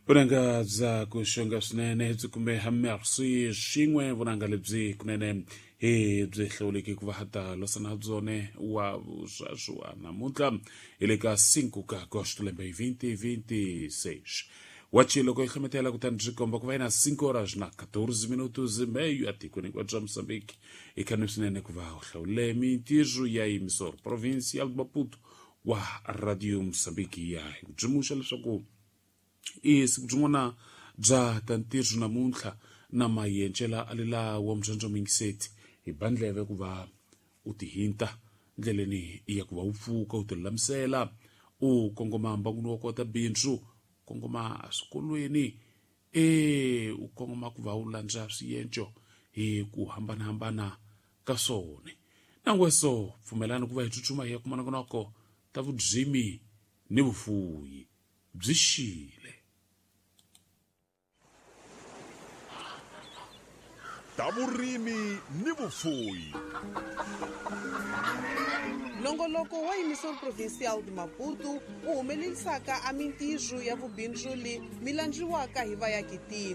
Vunanga bya ku xonga swinene byi kume merci xin'we vunanga lebyi kunene hi byi hlawuleki ku va ha ta losana byone wa vusweswi wa namuntlha hi le ka 5 ka agosto lembe 2026. Wachi loko yi hlometela kutani byi komba ku va yina 5 horas na 14 minutos e meio etikweni hinkwaro bya Mozambique. I khani swinene ku va u hlawule mintirho ya Emissor Provincial de Maputo wa Radio Mozambique ya hi ku byimuxa leswaku i siku byin'wana bya ta ntirho namuntlha na mayencela alela wa mbyondzo mingiseti hi bandleve ku va u tihinta ndleleni ya ku va u pfuka u tilulamisela u kongoma mbanguni wa kota bindzu kongoma eswikolweni e u kongoma ku va u landza swienco hi ku hambanahambana ka swona. Nangweso pfumelani ku va hi tsutsuma hi ya kuma nongonoko ta vudzimi ni vufuyi byi xile. Ta vurimi ni vufuyi. Nongoloko wa Emissor Provincial de Maputo wu humelerisaka a mintirho ya vubindzuli mi landziwaka hi vayakitiko.